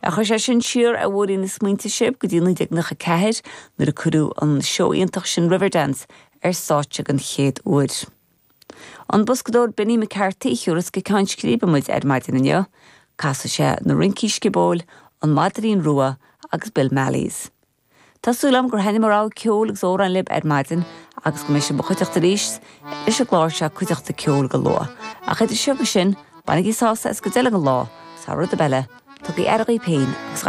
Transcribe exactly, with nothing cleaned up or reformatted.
A chuir sé sin siar ar bhóithrín na smaointe sibh go dtí naoi déag nócha ceathair nuair a cuireadh an seó iontach sin Riverdance ar stáitse den chéad uair. An boscadóir Benny McCarthy a thiúrfas go ceann scríbe muid ar maidin inniu, Casfaidh sé na rincí sciobóil, an Maidrín Rua agus Bill Malley's. Tá súil agam gur thaitin mo rogha ceoil agus amhrán libh ar maidin agus go mbeidh sibh i mo chuideachta arís leis an gclár seo Cuideachta Ceoil go luath. Ach idir seo agus sin, bainigí sásamh as go deireadh an lá, sa rud eile, tugaigí aire daoibh féin agus